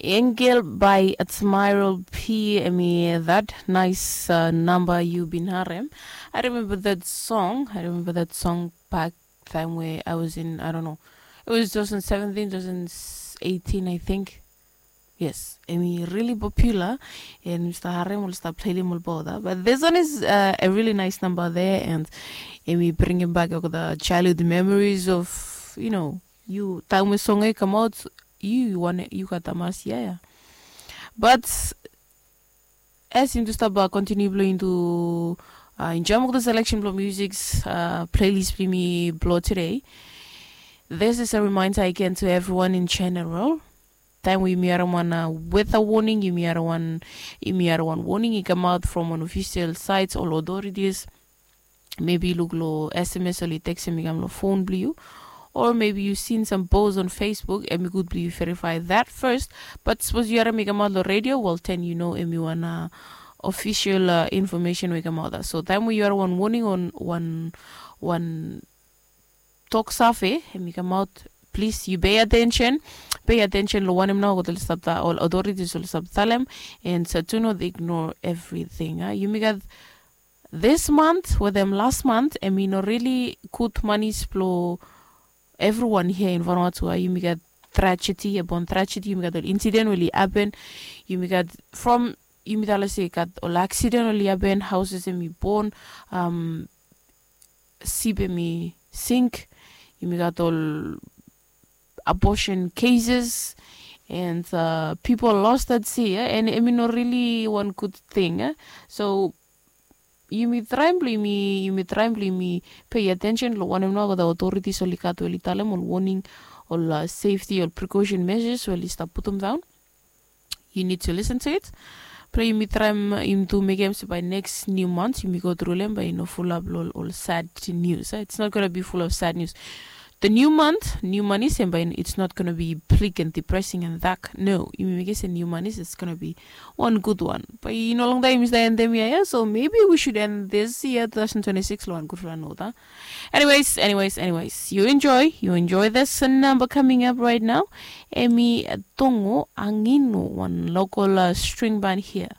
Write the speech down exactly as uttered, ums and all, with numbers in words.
Angel by Admiral P, emi that nice uh, number you been harem. I remember that song. I remember that song back time where I was in, I don't know, it was two thousand seventeen, two thousand eighteen, I think. Yes, emi really popular, and Mister Harem will start playing more about that. But this one is uh, a really nice number there, and emi bringing back all the childhood memories of, you know, you time we song come out, you you want you got the mass, yeah, yeah. But as him to stop uh, continue blowing to uh, enjoy the selection blow music uh, playlist blimi blow today. This is a reminder again to everyone in general. Time we yumi around one uh, weather warning, yumi around one, yumi around one warning. It come out from an official sites or authorities. Maybe look lo S M S or text emi kam lo phone blue you. Or maybe you seen some posts on Facebook, emi good blue you verify that first. But suppose you are emi come out lo radio, well, then you know emi one uh, official uh, information we come out. So time we you are one warning on one one talk safe, emi come out. Please, you pay attention. Pay attention lo wanem nao go tell stop that all authorities will stop tell them, and so to not ignore everything. Uh. You make that this month with them last month, emi no really good money splo everyone here in Vanuatu. Uh. You make that tragedy upon tragedy. You make that incident really happen. You make that from you make that let's say got all accident really happen. Houses emi born. Um, sip emi sink. Yumi gat ol abortion cases and uh, people lost at sea, eh? And emi no really one good thing, eh? So yumi traem blong yumi yumi traem blong yumi pay attention long wanem nao the authorities oli gat we oli talem ol warning, ol uh, safety, ol precaution measures we oli stap putum down. You need to listen to it. Pray yumi traem yumi tu mekem se by next new month yumi go through lem by no full up lo ol sad news, eh? It's not gonna be full of sad news. The new month, new money, same by it's not gonna be bleak and depressing and dark. No, yumi mekem se new money, it's gonna be one good one. But you know long time is the end, yeah, so maybe we should end this year, two thousand twenty-six, lo one good one, no, huh? Anyways, anyways, anyways, you enjoy, you enjoy this number coming up right now. Emi Tongo Anginu, one local uh, string band here.